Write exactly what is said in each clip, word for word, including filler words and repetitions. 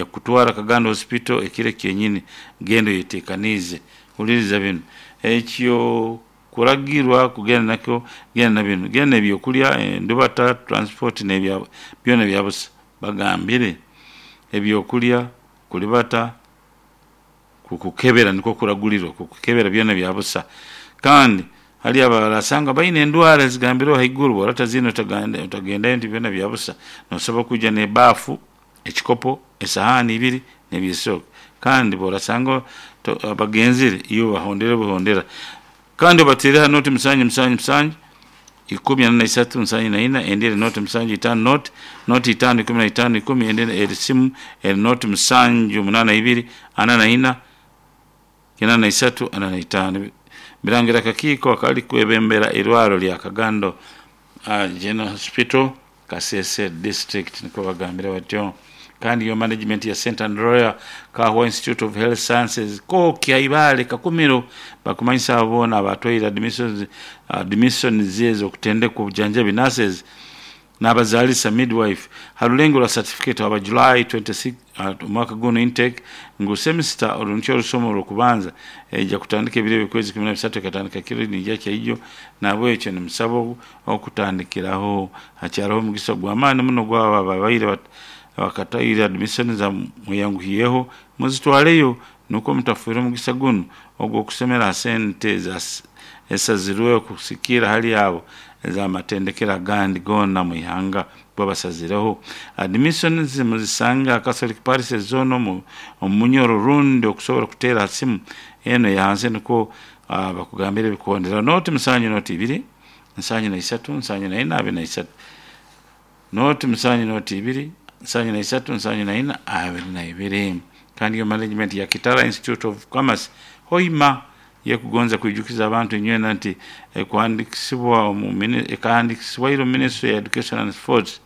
Nja kutwara Kagando Hospital ekiro kyenyini, genda oyetekaniize. Huliriza binu, ekyo kuragirwa kugenda nakyo, genda na binu, genda n'ebyokulya, endubata, transport n'ebya byona byabusa. Bagambire ebyokulya, kulibata, kukukebera nikwo kuragulirwa, kukukebera byona byabusa. Kandi hali abarasanga baine endwara ezigambireho haiguru, bw'orata zinu otagendayo nti byona byabusa. Nosobora kwija n'ebaafu, ekikopo, esahaani ibiri n'ebyesooke. Kandi bw'orasanga bagenzire, iwe bahondere buhondera. Kandi obateere ha nooti musanju musanju musanju ikumi ana na isatu nsanju na ina, endi eri nooti musanju itaano nooti, nooti itaano ikumi na itaano ikumi, endi eri simu eri nooti musanju munaana ibiri ana na ina kinaana na isatu ana na itaano. Birangira akakiiko akali kwebembera irwaro lya Kagando uh, General Hospital Kasese District, nikwo bagambire batyo. Kandi yo management ya Saint Andrea Kahwa Institute of Health Sciences Koki Ibale Kakumiro bakumanyisa abo boona abatwaire admissions admissions ezo okutendekwa obujanjabi nurses n'abazaalisa midwife ha rulengo rwa certificate aba July twenty-six omwaka guno intake ngu semester oru nikyo orusomo orw'okubanza ejja kutandika ebiro eby'okwezi kumi na bisatu ekatandika kiro nijja kyaijo, nahabwekyo nimusaba okutandikiraho. Hakyariho omugisa gw'amaani muno gwabo ababaire bakataire admissions mweyanguhiyeho muzitwaleyo nukwo mutafiirwa omugisa gunu ogw'okusomera ha sente esazirweho kusikira hali abo ez'amatendekero agandi goona omu ihanga babasazireho. Admissions muzisanga ha Catholic Parishes zoona omu Munyoro rundi okusobora kuteera ha simu enu eya hansi nukwo bakugambire ebikuhondera nooti musanju nooti ibiri nsanju na isatu nsanju na ina abiri na isatu, nooti musanju nooti ibiri nsanju na isatu nsanju na ina abiri na ibiri. Kandi yo management ya Kitara Institute of Commerce Hoima yekugonza kwijukiza abantu inywena nti ekuhandikisibwa omu ekahandikisibwaire omu Ministry ya Education and Sports,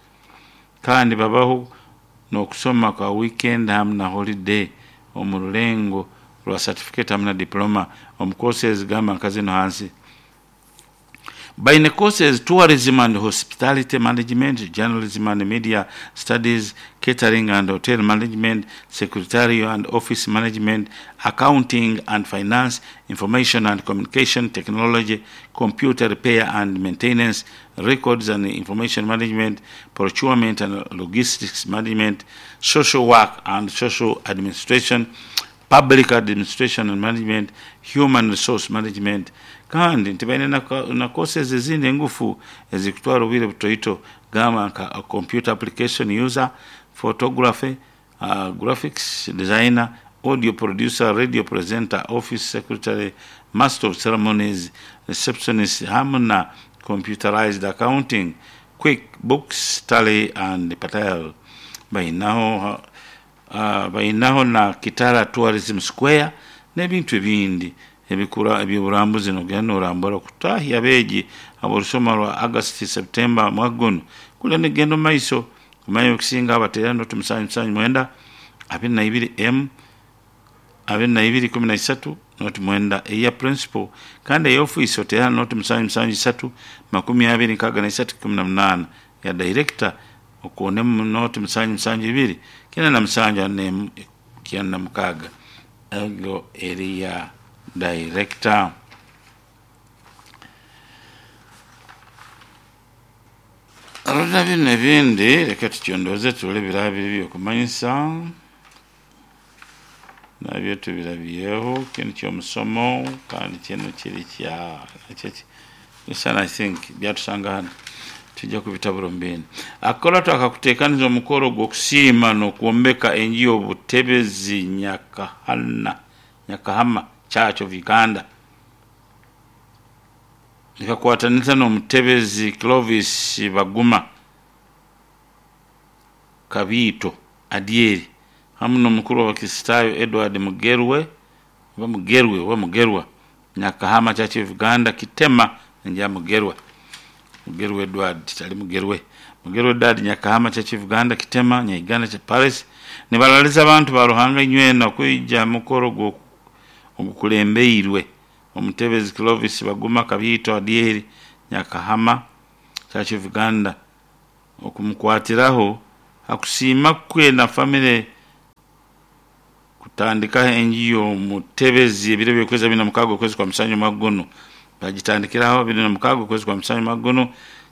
kandi babaho n'okusoma kwa weekend hamu na holiday omu rulengo rwa certificate hamu na diploma omu courses gamba nka zinu hansi. Baine courses tourism and hospitality management, journalism and media studies, catering and hotel management, secretarial and office management, accounting and finance, information and communication technology, computer repair and maintenance, records and information management, procurement and logistics management, social work and social administration, public administration and management, human resource management. Kandi nti baine na courses ezindi engufu ezikutwara obwire butoito gamba nka computer application user, photography, uh, graphics designer, audio producer, radio presenter, office secretary, master of ceremonies, receptionist hamu na computerized accounting, quick books, tally and patel. Bainaho uh, bainaho na Kitara Tourism Square n'ebintu ebindi ebikura eby'oburambuzi nogenda norambura okutahya abeegi ab'orusoma rwa August September mwaka guno kulya nigenda omu maiso. Kumanya ebikusinga abateera nooti musanju musanju mwenda abiri na ibiri M abiri na ibiri ikumi na isatu nooti mwenda eya principal. Kandi eya ofiisi oteera nooti musanju musanju isatu makumi abiri nkaaga na isatu ikumi na munaana, ya director okoonemu nooti musanju musanju ibiri kenda na musanju ana n'emu kyenda na mukaaga, ego eri ya director. Arora binu ebindi reka tukyondooze turole ebiraba biri ebyokumanyisa nabyo tubirabyeho. Kinu ky'omusomo kandi kinu kiri kya listen, I think byatusanga hano tujja kubitabura omu bindi. Akakora akakuteekaniza omukoro gw'okusiima n'okwombeka enju y'obutebezi Nyakahana Nyakahama Church of Uganda nikakwataniza n'omutebezi Clovis Baguma Kabiito Adyeri hamu n'omukuru w'Abakristaayo Edward Mugerwe oba Mugerwe oba Mugerwa Nyakahama Church of Uganda Kitema nja Mugerwa Mugerwa Edward tali Mugerwe Mugerwa Edward Nyakahama Church of Uganda Kitema Nyaiganda cha Paris nibaraliza abantu ba Ruhanga inywena kwija mukoro ogukulembeirwe omutebezi Clovis Baguma Kabiito Adyeri Nyakahama Church of Uganda okumukwatiraho hakusiima kwe na family Kutandikaho enju y'omutebezi ebiro by'okwezi abiri na mukaaga okwezi kwa musanju omwaka gunu. Bagitandikiraho abiri na mukaaga okwezi kwa musanju omwaka gunu.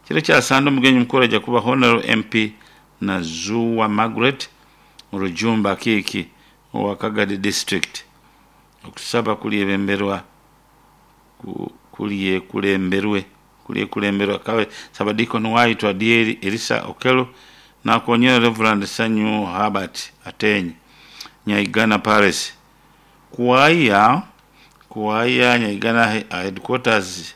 Kiro kya Sande omugenyi mukuru ajja kuba Honorable M P Nazuwa Margaret Rujumba Akiiki owa Kagadi District. Okusaba kulyebemberwa kulyekulemberwe kulyekulemberwa kabe Sabadikoni waitu Adieri Elisa Okello nakonyera Reverend Sanyu Herbert Atenyi Nyaigana Palace. Kuwaya kuwaya Nyaigana headquarters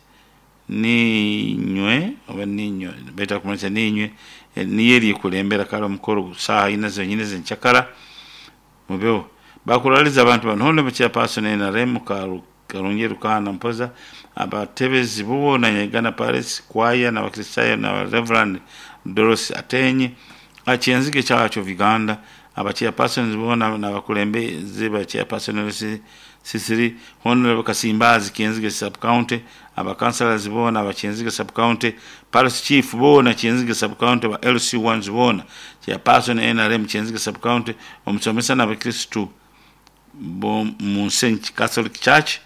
ninywe oba ninywe beta kumanyisa ninywe niyo eryekulembera kale omukoro saaha ina zonyine zenchakara mubeho bakuraliza abantu bano honorable chairperson N R M Karungi Rukana Mpoza abatebezi boona Nyaigana Palace kwaya n'abakristayo na Reverend Doros Atenyi Akyenzige Church of Uganda aba chairpersons boona n'abakulembeze ba chairperson Sisiri Honorable Kasimbazi Kyenzige sub county aba councillors boona aba Kyenzige sub county Palace chief boona Kyenzige sub county ba L C ones boona chairperson N R M Kyenzige sub county omusomesa n'abakristu bo mu Saint Catholic Church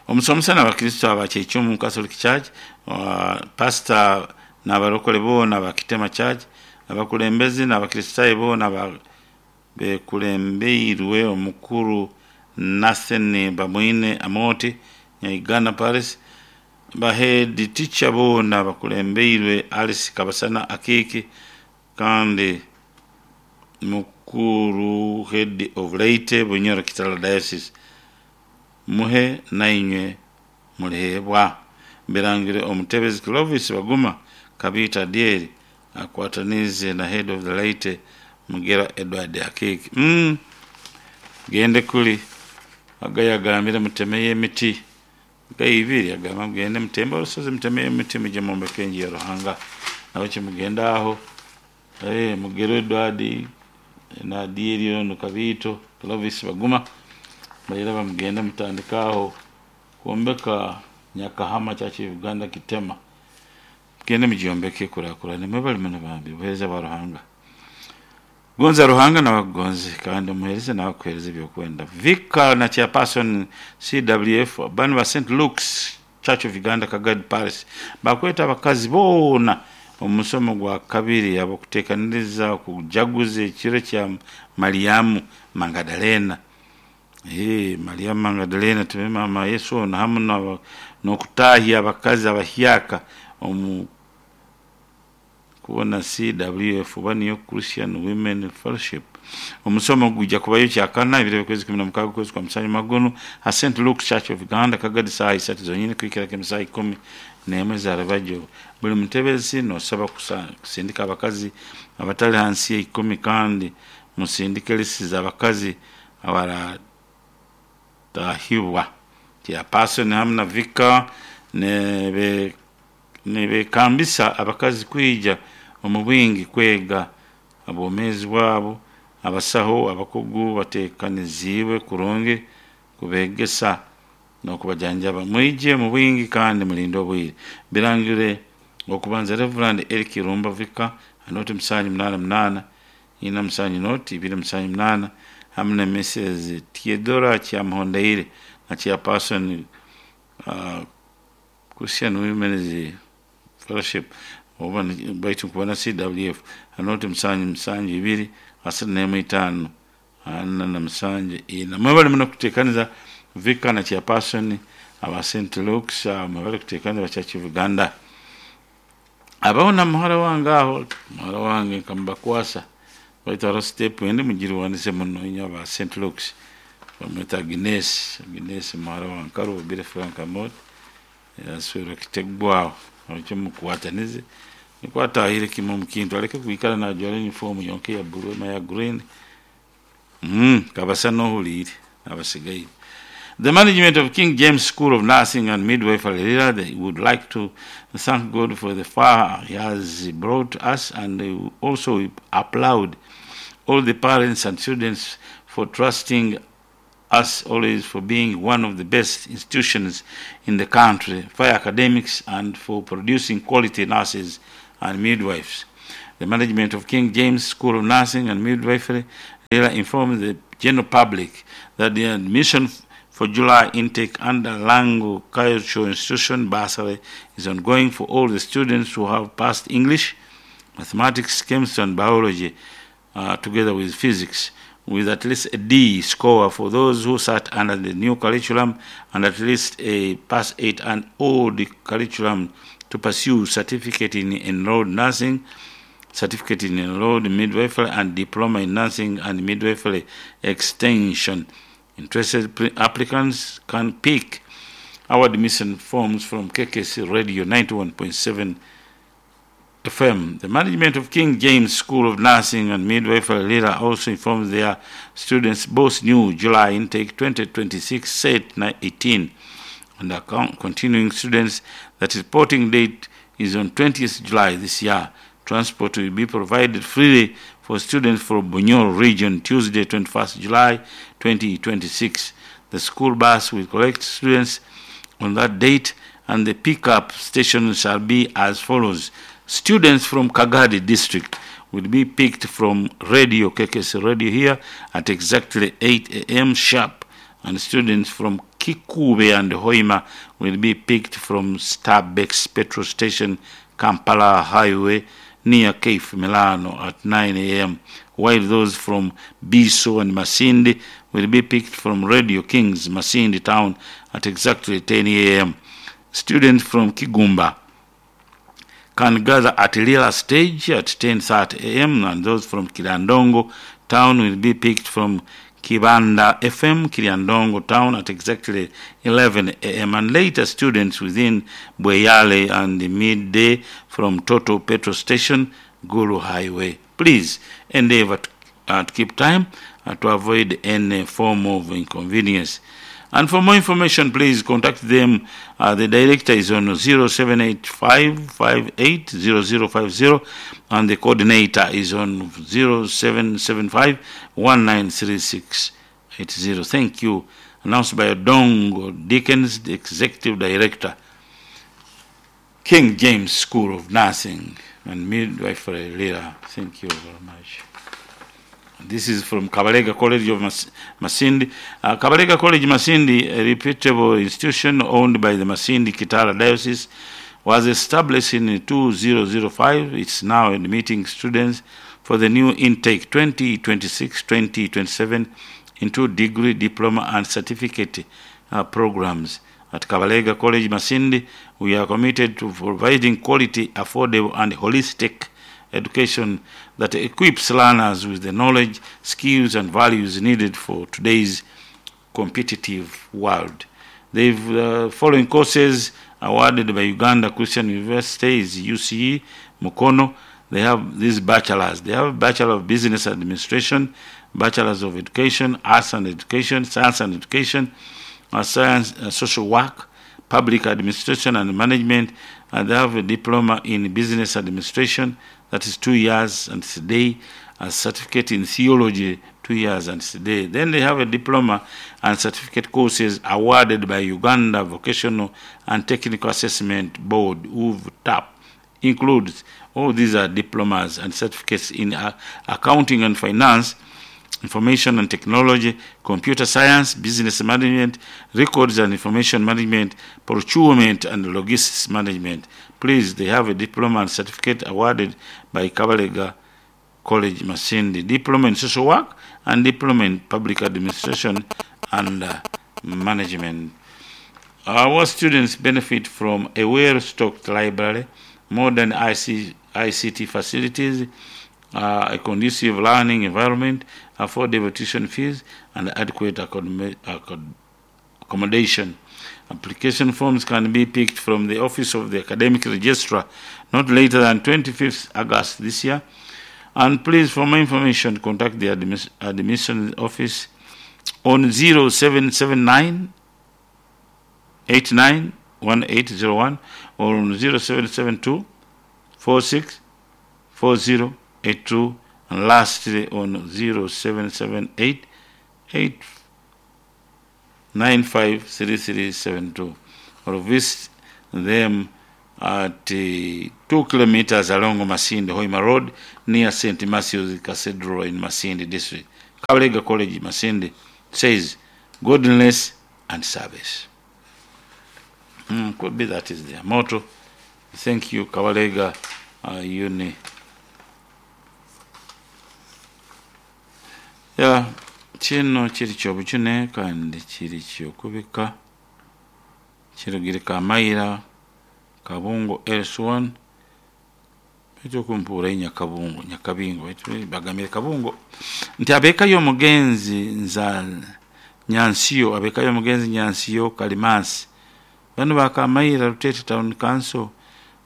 omusomesa n'abakristu aba Kyekyumu Catholic Church uh, pastor n'abarokole boona aba Kitema Church abakulembeze n'abakristayo boona ba bekulembeirwe omukuru Nathan Bamwine Amoti Nyaigana Palace ba head teacher boona bakulembeirwe Alice Kabasana Akiki kandi mukuru head of Leyte Bunyoro Kitara Diocese muhe nainywe mulihebwa mbirangire omutebezi Clovis Baguma Kabita Dieri akwatanize na head of the Leyte Mugera Edward Akiki. Mm. Gende kuli agayagambira mutemeye emiti gayibiri agamba mugende mutembe olusozi mutemeye emiti muje mwombeke enju ya Ruhanga nawe kimugenda aho eh Mugera Edward na Dieri ono Kabito Clovis Baguma bayira bamugenda mutandikaho kwombeka Nyakahama Church of Uganda Kitema mugende mugyombeke kurakurane mwebale muno bambi buheereza bwa Ruhanga. Gonza Ruhanga na wagonze kandi muhereze na wakuhereze byokwenda. Vika na chairperson C W F bano ba Saint Luke's Church of Uganda Kagadi Palace bakweta abakazi boona omusomo gwa kabiri abakuteekaniriza kujaguza ekiro kya Mariamu Magdalena. Eh Mariamu Magdalena tume mama Yesu ono hamu n'okutahya abakazi abahyaka omu kubona C W F oba niyo Christian Women Fellowship. Omusomo gujja kubayo kyakana ebiro by'okwezi kumi na mukaaga okwezi kwa musanju magono ha Saint Luke's Church of Uganda Kagadi saa isatu zonyine kuhikira kemisaa ikumi n'emwe za Rubajjo. Buli mutebezi nosaba kusindika abakazi abatali hansi ya ikumi kandi musindike lisi z'abakazi abaratahibwa. Chairperson hamu na vika nebe nebekambisa abakazi kwija omu bwingi kwega obwomeezi bwabo abasaho abakugu bateekaniziibwe kurungi kubegesa n'okubajanjaba. Mwije mu bwingi kandi mulinde obwire. Birangire okubanza Reverend Eric Rumba Vika anoti musanju munaana munaana ina musanju noti ibiri musanju munaana hamu na Missus Theodora Kyamuhondeire na chairperson uh, Christian Women's Fellowship oba baitu kubona C W F anoti musanju musanju ibiri asatu n'emu itaano ana na musanju ina. Mwebale muno kuteekaniza Vika na chairperson aba Saint Luke's mwebale kuteekaniza ba Church of Uganda. Abaho na muhara wange aho muhara wange nkamubakwasa baitu hariho step endi mugirwanise muno inyo aba Saint Luke's bamweta Agnes Agnes muhara wange Karubire Frank Amot yaswera kitegwaho ekyo mukwatanize nikwatahire kimwe omu kintu aleke kwikara najwara uniform yonka ya blue na ya green mm kabasa nohuliire abasigaire. The management of King James School of Nursing and Midwifery Lira, they would like to thank God for the far he has brought us, and they also applaud all the parents and students for trusting us always, for being one of the best institutions in the country for academics and for producing quality nurses and midwives. The management of King James School of Nursing and Midwifery Lira informed the general public that the admission for July intake under Lango Cultural Institution bursary is ongoing for all the students who have passed English, mathematics, chemistry, and biology, uh, together with physics, with at least a D score for those who sat under the new curriculum and at least a pass eight and old curriculum to pursue certificate in enrolled nursing, certificate in enrolled midwifery, and diploma in nursing and midwifery extension. Interested pre- applicants can pick our admission forms from K K C Radio ninety-one point seven F M. The management of King James School of Nursing and Midwifery Lira also informs their students both new July intake twenty twenty-six set eighteen and account continuing students that reporting date is on twentieth July this year. Transport will be provided freely for students from Bunyoro region Tuesday twenty-first July twenty twenty-six. The school bus will collect students on that date, and the pickup station shall be as follows. Students from Kagadi district will be picked from Radio K K C Radio here at exactly eight A M sharp, and students from Kikube and Hoima will be picked from Starbucks petrol station, Kampala Highway, near Cape Milano at nine A M, while those from Biso and Masindi will be picked from Radio Kings, Masindi town at exactly ten A M. Students from Kigumba can gather at Lila stage at ten thirty A M, and those from Kilandongo town will be picked from Kibanda F M, Kilandongo town at exactly eleven A M, and later students within Bweyale and the midday from Toto petrol station, Gulu Highway. Please endeavor to, uh, to keep time uh, to avoid any form of inconvenience. And for more information, please contact them. Uh, the director is on zero seven eight five, five eight zero zero five zero, and the coordinator is on zero seven seven five, one nine three six eight zero. Thank you. Announced by Odongo Dickens, the Executive Director, King James School of Nursing and Midwifery Lira. Thank you very much. This is from Kabalega College of Mas- Masindi. Uh, Kabalega College Masindi, a reputable institution owned by the Masindi Kitara Diocese, was established in two thousand five. It's now admitting students for the new intake twenty twenty-six twenty twenty-seven into degree, diploma, and certificate uh, programs. At Kabalega College Masindi, we are committed to providing quality, affordable, and holistic education that equips learners with the knowledge, skills, and values needed for today's competitive world. The uh, following courses awarded by Uganda Christian University is U C E, Mukono. They have these bachelors. They have Bachelor of Business Administration, Bachelors of Education, Arts and Education, Science and Education, uh, Science, uh, Social Work, Public Administration and Management, and they have a diploma in Business Administration, that is two years and today, a certificate in Theology, two years and today. Then they have a diploma and certificate courses awarded by Uganda Vocational and Technical Assessment Board, U V T A P, includes, all these are diplomas and certificates in uh, accounting and finance, information and technology, computer science, business management, records and information management, procurement and logistics management. Please, they have a diploma and certificate awarded by Kabalega College Masindi, diploma in social work and diploma in public administration and uh, management. Our students benefit from a well-stocked library, modern I C, I C T facilities, uh, a conducive learning environment, affordable tuition fees, and adequate accommodation. Application forms can be picked from the Office of the Academic Registrar not later than twenty-fifth August this year. And please, for more information, contact the admis- admission office on zero seven seven nine, eight nine one eight zero one or on zero seven seven two, four six four zero eight two, and lastly on zero seven seven eight, eight nine five three three seven two, or visit them at uh, two kilometers along Masindi Hoima Road near Saint Matthew's Cathedral in Masindi District. Kabalega College Masindi says godliness and service. Mm, could be that is their motto. Thank you, Kabalega uh, Uni. Ya kino kiri kyobujune kandi kiri kyokubika kirugire Kamaira Kabungo L S one baitu okumpuura Nyakabungo Nyakabingo baitu bagambire Kabungo nti abeka y'omugenzi nza Nyansiyo, abeka y'omugenzi Nyansiyo Kalimasi, bano bakamaira Rutete Town Council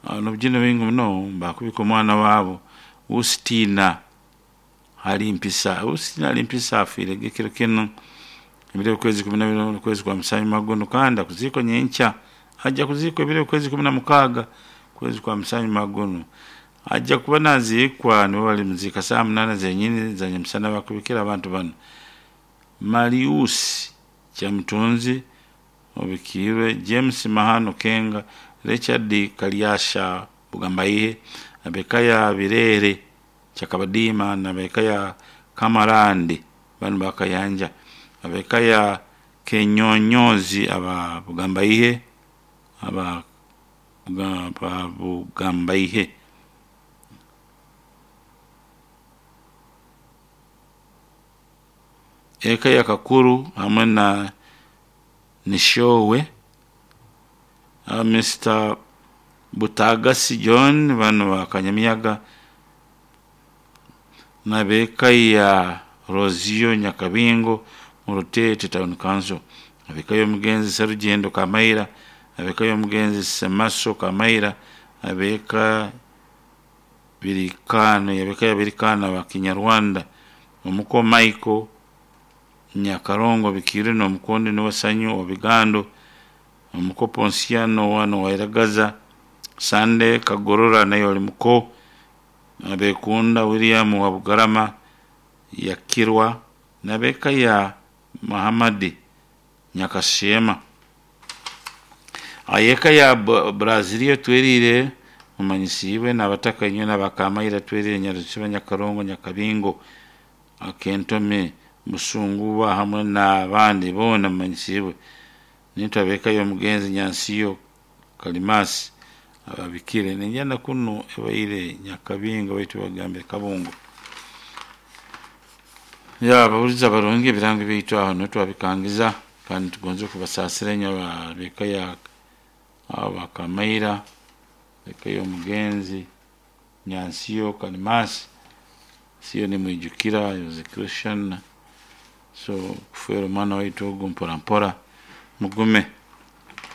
uh, nobujune bwingi muno bakubika omwana waabo Ustina Halimpisa. Ustina Halimpisa afiire ekiro kino ebiro okwezi kumi na bibiri okwezi kwa Musanyuma guno, kandi akuziikwa nyenkya, ajja kuziikwa ebiro okwezi kumi na mukaaga kwezi kwa Musanyuma guno, ajja kuba naziikwa nibo balimuziika saa munaana zenyini za nyamusana. Bakubikira abantu bano: Mariusi Kyamutunzi obikiirwe, James Mahano Kenga, Richard Kalyasha Bugambaihe, abeka ya Birere Kyakabadiima, nabeka ya Kamarande banu bakayanja, abeka ya Kenyonyozi aba Bugambaihe, aba aba Bugambaihe, eka ya Kakuru hamwe na Nishowe uh, Mister Butagasi John bano bakanyamiyaga, nabeka ya Rosio Nyakabingo mu Rutete Town Council, abeka y'omugenzi Serugendo Kamaira, abeka y'omugenzi Semaso Kamaira, abeka Birikano, yabeka ya Birikano wa Kinyarwanda, omuko Michael Nyakarongo bikire n'omukondi n'owasanyu obigando, omuko Ponsiano wano wairagaza, Sande Kagorora naye oli muko, abekunda William wa Bugarama yakirwa, nabeka ya Muhammadi Nyakashema, ayeka ya Brazilia twerire mumanyisiibwe n'abataka inywe n'abakamaira twerire Nyarusiba Nyakarongo Nyakabingo Akentome Musunguba hamwe n'abandi boona mumanyisiibwe nitwe abeka y'omugenzi Nyansiyo Kalimasi ababikire ninjana kuno ebaire Nyakabingo baitu bagambire Kabungo. Ya ababulizi abarungi, ebirango byaitu aho niho twabikangiza, kandi tugonze okubasaasira enyo abeka ya abakamaira, eka y'omugenzi Nyansiyo Kalimasi siyo nimwijukira, he was a Christian, so kufeera omwana waitu ogu mpora mpora mugume,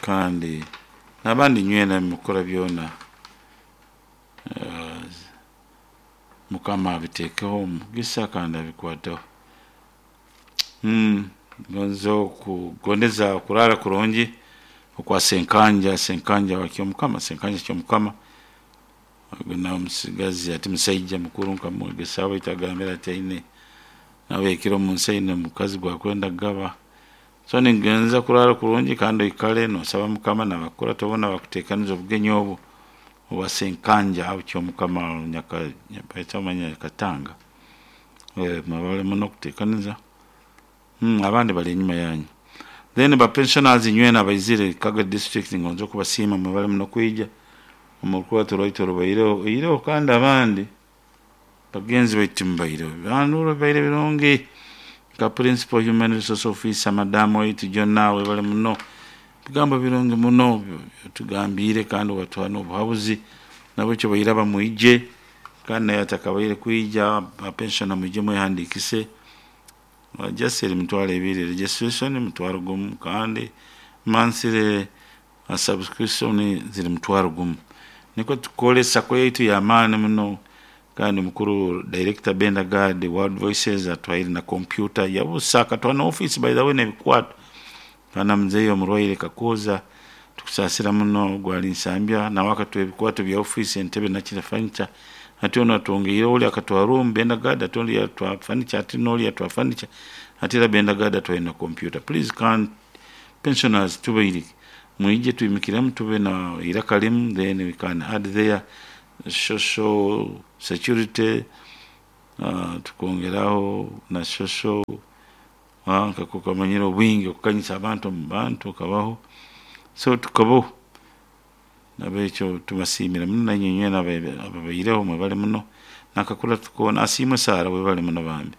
kandi n'abandi nywena mukora byona uh, Mukama abiteekeho omugisa kandi abikwateho. mm, gonza okugondeza okurara kurungi okwa Senkanja, Senkanja wakyomukama, Senkanja kyomukama ogu nawe musigazi ati musaija mukuru nkamwegesaho baitu agambire ati aine nawe ekiro omunsi aine omukazi gwakwenda kugaba. So ningenza kurara kurungi kandi oikale nosaba Mukama nabakurata boona bakuteekaniza obugenyi obu obwa Senkanja aho kyomukama nyaka Nyakatanga, mwebale muno okuteekaniza. mm, abandi bali enyuma yanyu. Then ba pensioners inywena abaizire Kagwe District, ngonza okubasiima, mwebale muno kwija omu rukurato rwaitu orubaireho oireho, kandi abandi bagenzi baitu mubaireho bantu baire birungi, nka principal human resource officer madamu waitu Jonna, webale muno bigambo birungi muno tugambiire kandi watuha n'obuhabuzi, nabwekyo bairaba mwije, kandi naye atakabaire kwija apensiona mwije mwehandikise, just eri mitwaro ebiri registration, mutwaro gumu, kandi monthly subscription ziri mutwaro gumu. Nikwo tukore SACCO yaitu y'amaani muno, kandi mukuru director Benda Gad World Voices atwaire na computer yabusa, akatwara na office by the way n'ebikwato. Kandi muzeeyi omurwaire Kakooza tukusaasira muno gwali Nsambya, nawe akatuha ebikwato bya office, entebe nakira furniture, ati onu atwongeireho, oli akatwara room Benda Gad, ati oli yatwara furniture, ati n'oli yatwara furniture, ati era Benda Gad atwaire na computer. Please can pensioners tubaire mwije twimikiremu tube na iraka limu, then we can add there social security. uh, tukongeraho na social uh, nkakukamanyira obwingi okukanyisa abantu omu bantu okabaho, so tukabaho. Nabekyo tubasiimire muno, nainywe inywena ababaireho mwebale muno. Nakakura tukoona asiimwe Sarah, webale muno bambi,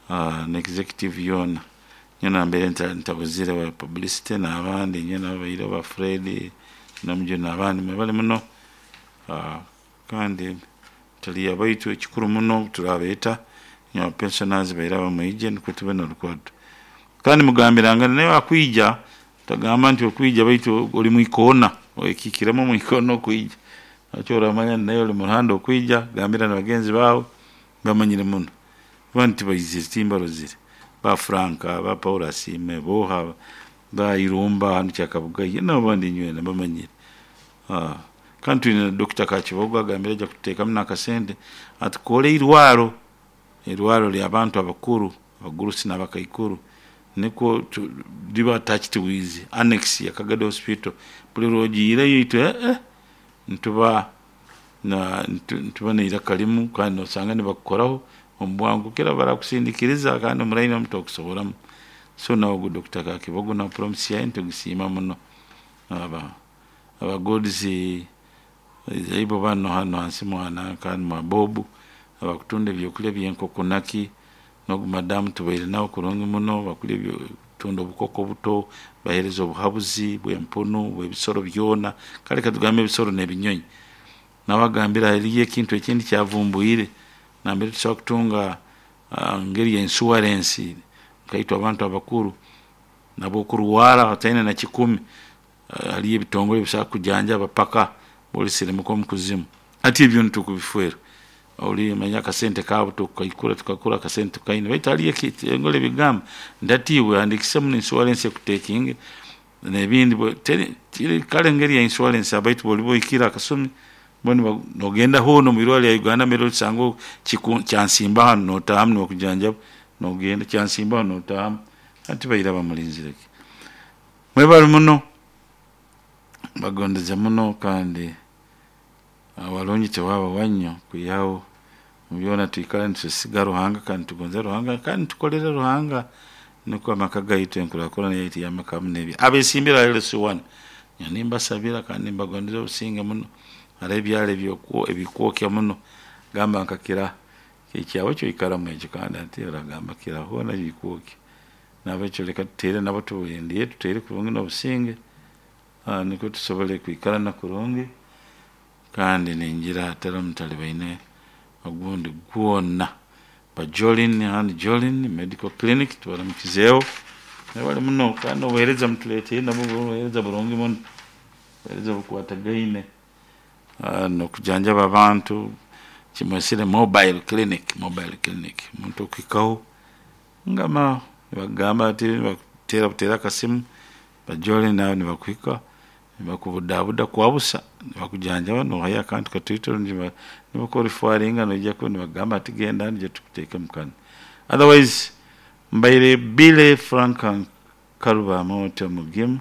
uh, na executive yoona nyowe nambere ntabuzire ba publicity n'abandi inywena ababaireho, ba Fred Namujuni n'abandi, mwebale muno. uh, kandi tuli abaitu, ekikuru muno turabeeta inywe pensioners bairaba mwije nukwo tube n'orukwato. Kandi mugambirangane naye akwija, tagamba nti okwija baitu oli mwikoona, oikikiremu mwikoona okwija, nakyo oramanya naye oli muruhande okwija, gambira na bagenzi baawe bamanyire muno kuba nti baizire timbarozire, ba Franka, ba Paul Asiime, boha ba Irumba hanu Kyakabugayi n'abandi inywena bamanyire. uh, kandi twine na Doctor Kakibogo agambire aja kututeekamu n'akasente atukore irwaro, irwaro ly'abantu abakuru, abagurusi n'abakaikuru, nikwo liba attached with annex ya Kagadi Hospital. Buli lwogiireyo itwe eh, eh, nituba na nituba n'eiraka limu, kandi nosanga nibakukoraho omu bwangu kira barakusindikiriza kandi omuraini omu tokusoboramu. So nawe Doctor Kakibogo na promise yaye nitugusiima muno. Aba aba God's ibo bano hano hansi mwana kandi mwa Bob abakutunda ebyokulya by'enkoko naki, nogu madamu tubaire nawe kurungi muno, bakulya tunda obukoko buto, bahereza obuhabuzi bw'empunu, bw'ebisoro byona, kale katugambe ebisoro n'ebinyonyi. Nabagambira hariyo ekintu ekindi kyavumbwire nambere tusobola kutunga uh, ngeri ya insurance nkaitwe abantu abakuru nabo okurwara bataine na kikumi, uh, hariyo ebitongole bisobola kujanjaba paka bolisirimuka omu kuzimu. Ati ebyo nitukubifwera oli manya akasente kaabo tukaikura tukakura akasente tukaine, baitu hariyo ekitongole bigamba ndatiibwe handikisemu insurance ekutekinge n'ebindi, kale engeri ya insurance abaitu boli boikira akasumi bo nogenda hoona omu irwariro lya Uganda mbere olisanga kyansimba hanu notahamu nibakujanjaba, nogenda kyansimba hanu notahamu, hati baira bamulinzire ki. Mwebale muno, bagondeze muno, kandi abarungi tewaba wannyo kwihaho byona twikara nitwesiga Ruhanga kandi tugonza Ruhanga kandi tukolere Ruhanga, nukwo amaka gaitu enkurakurana yaitu y'amaka hamu n'ebyo abesimbire L C one nimbasabira kandi nimbagondeza obusinge muno. Hariho ebyaro ebikwokya muno, gamba nkakira ekyawe kyoikaramu ekyo, kandi ati oragamba kira hoona bikwokya. Nabekyo leka tutere nabo tubulindiye tutere kurungi n'obusinge, uh, nikwo tusobole kwikarana kurungi. Kandi ningira hatari mutalibaine ogundi gwona. Ba Jolin and Jolin Medical Clinic tubaramukizeeho, mwebale muno, kandi obuheereza mutuleetiire nabwo buheereza burungi muno, obuheereza bukwatagaine uh, n'okujanjaba abantu kimwesire mobile clinic, mobile clinic omuntu okuhikaho ngama nibagamba ati nibakuteera buteera akasimu ba Jolin nawe nibakuhika nibakubudabuda kwabusa nibakujanjaba nohayo akantu katoito nibakureferringa noija nibagamba ati genda nije tukuteekemu kanu. Otherwise mbaire Billy Frank Karuba Amooti omugimu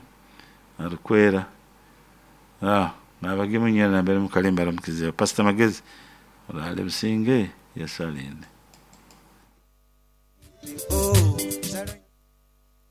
arukwera, ah, n'abagimu nywena nambere mukalimba aramukizeho. Pastor Magezi orale businge, Yesu alinde.